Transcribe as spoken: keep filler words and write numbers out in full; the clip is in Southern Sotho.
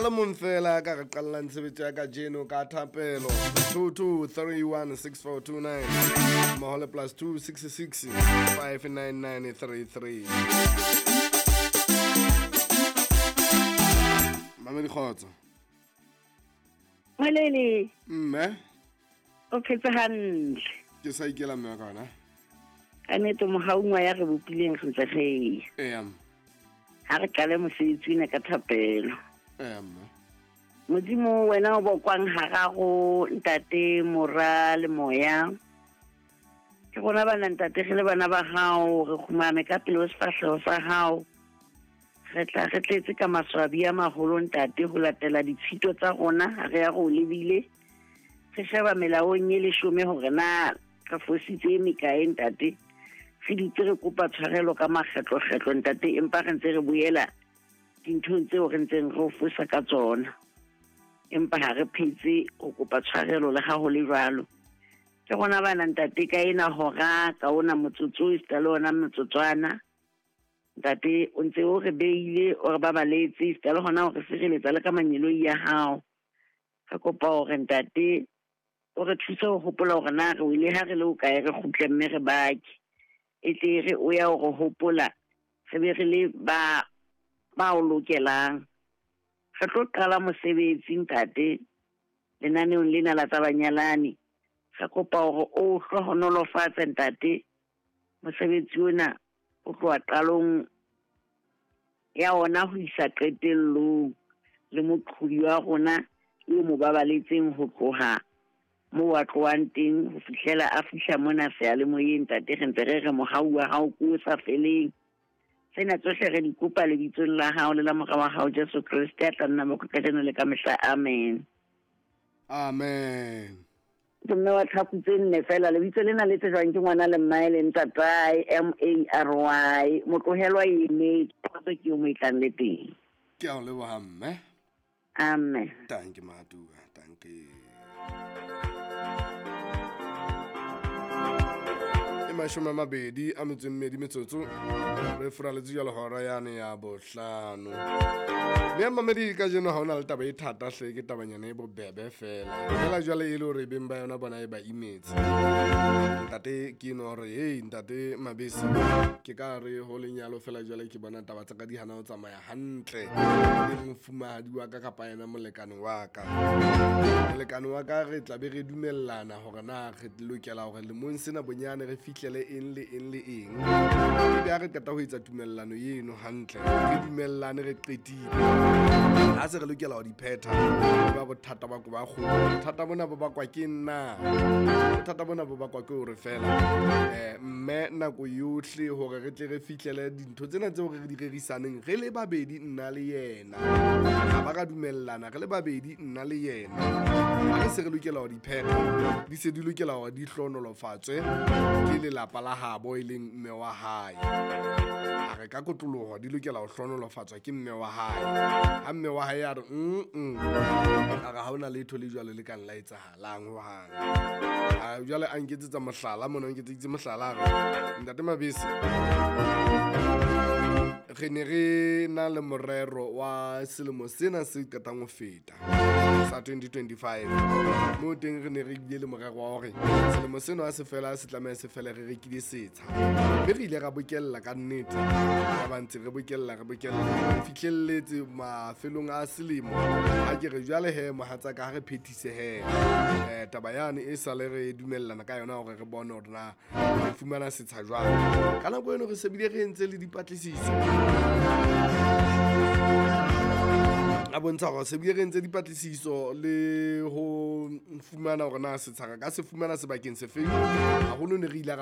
le mong fela ka re qallang tshebetso ya kajeno ka thapelo. Two two three one six four two nine mmoho le plus two six six five nine nine three three. Mamedi kgotso. Molele. Mme. O phetse hantle. Ke sa ikela mme ka ona. Ka nnete mohaung wa ya re bopileng re ntse re. Eya. Ha re qale mosebetsi ona ka thapelo. Eya mme. Modimo wena o bokwang hararo ntate mora le moya. Ke rona bana ntate re le bana ba hao re kgumame ka pele ho sefahleho sa hao. Re tla re tletse ka maswabi a maholo ntate ho latela ditshito tsa rona ha re ya go lebile. Re sheba melaong e leshome hore na re fositse e mekae ntate. Re dutse re kopa tshwarelo ka makgetlokgetlo ntate empa re ntse re boela dinthong tseo re ntseng re o fosa ka tsona. Empa ha re phetse ho kopa tshwarelo le ha ho le jwalo. Ke rona bana ntate ka ena hora ka ona motsotso esita le ona motsotswana. Ntate o ntse o re beile o re babaletse esita le hona o re sireletsa le ka manyeloi ya hao. Re kopa hore ntate o re thuse ho hopola hore na re wile ha re le hokae re kgutle mme re bake. E tle re o ya o re hopola re be re le ba ba o lokelang. Re tlo qala mosebetsi ntate lenaneong lena la tsa banyalani. Re kopa hore o hlohonolofatse ntate mosebetsi ona o tloha qalong ya ona ho isa qetellong le moqhobi wa rona eo mo babaletseng ho tloha moo a tlohang teng ho fihlela a fihla mona seyalemoyeng ntate re ntse re re mohau wa hao ke o sa feleng. Tsena tsohle re di kopa lebitsong la hao le la mora wa hao Jesu Kreste a tla nna mo kajeno le ka mehla. Amen. Amen. Ke mme wa tlhaku tse nne fela lebitso lena le tsejwang ke ngwana le mmae le ntatae M A R Y motlohelwa eme kgotso ke yo mo e tlang le teng. Ke a o leboha mme. Amen. Danke Matua, danke. E mashome a mabedi a metso e mmedi metsotso re furaletse jwalo hora yane ya bohlano. Mme ya mamedi kajeno ha hona le taba e thata hle, ke tabanyana e bobebe fela. Fela jwale e le hore beng ba yona bona e ba imetse. Ntate ke eno hore hey ntate Mabese ke ka re ho lenyalo fela jwale ke bona taba tsa ka di hana ho tsamaya hantle. Le mofumahadi wa ka kapa yena molekane wa ka. Molekane wa ka re tla be re dumellana hore na re lokela hore lemong sena bonyane re fihlele eng le eng le eng. Ebe ha re qeta ho etsa tumellano eno hantle, re dumellane re qetile. Ha se re lokela ho di phetha, ba bothata ba ko ba kgolo. Bothata bona bo bakwa ke nna. Bothata bona bo bakwa ke hore fela eh mme nako yohle hore re tle re fihlele dintho tsena tseo re di rerisaneng re le babedi nna le yena. Ha ba ka dumellana re le babedi nna le yena. Ha re se re lokela ho di phetha, di se di lokela hore di hlohonolofatswe ke lelapa la habo e leng mme wa hae. A re ka kotloloho di lokela ho hlohonolofatswa ke mme wa hae. Ha mme wa hae a re mm mm, a re ha hona letho le jwalo le ka nla etsahalang hohang. A jwale a nketsetsa mohlala mona, a nketseditse mohlala a re ntate Mabese re ne re na le morero wa selemo sena se qetang ho feta sa twenty twenty-five. Moo teng re ne re bile le morero wa hore selemo seno ha se fela se tlameha se fele re rekile setsha. Mme re ile ra bokella ka nnete, ra ba ntse re bokella re bokella re fihlelletse mafelong a selemo. Ha ke re jwale he mohatsaka ha re phethise he eh taba yane e sale re dumellana ka yona hore re bone hore na re fumana setsha jwang. Ka nako eno re se bile re entse le dipatlisiso. A bontsha hore se bile re entse dipatlisiso le ho fumana hore na setsha re ka se fumana sebakeng se feng. Haholo ne re ile ra